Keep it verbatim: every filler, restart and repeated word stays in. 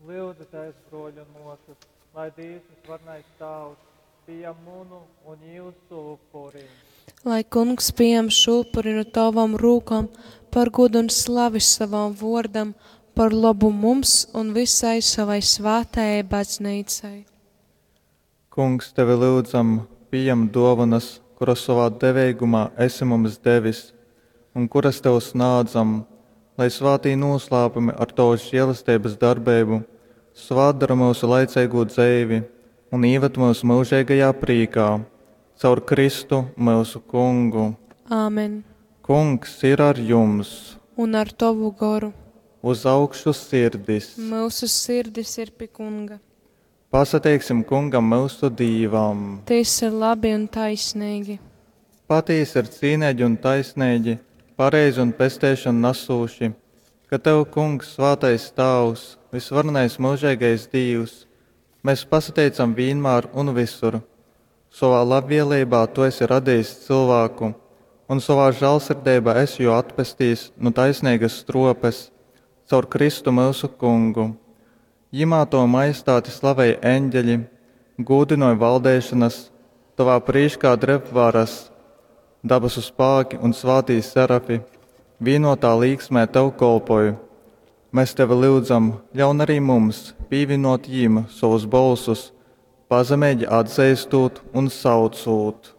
Lyudzitēs, bruoļi un muosys, lai Dīvs Vysvarenais Tāvs pījam munu un jūsu upuri. Lai Kungs pījam šo upuri nu tavom rūkom par godu un slavi savam vuordam, par lobu mums un visai savai svātajai Baznīcai. Kungs, tevi lyudzam, pījam dōvonas, kuras sovā deveigumā esi mums devis un kuras tev snādzam, lai svātī nūslāpumi ar tovas želesteibas darbeibu svātdora myusu laiceigū dzeivi un īvad myus myužeigajā prīkā. Caur Kristu, myusu Kungu. Āmen. Kungs ir ar jums! Un ar tovu goru. Uz augšu sirdis! Myusu sirdis ir pi Kunga. Pasateiksim Kungam myusu Dīvam! Tys ir labi un taisneigi. Patīsi ir cīneigi un taisneigi, pareizi un pesteišonu nasūši, ka tev, Kungs, svātais Tāvs, vysvarenais myužeigais Dīvs, mes pasateicam vīnmār un vysur. Sovā labvieleibā tu esi radejis cylvāku un sovā žālsirdeibā esi jū atpestejis nu taisneigas strōpes caur Kristu myusu Kungu. Jymā tovu majestāti slavej eņgeļi, gūdynoj valdeišonas, tovā prīškā dreb varas. Dabasu spāki un svātī serafi vīnotā līksmē tev kolpoj. Mēs tevi lyudzam, ļaun arī mums pīvīnōt jim sovus bolsus, pazemeigi atzeistūt un saucūt.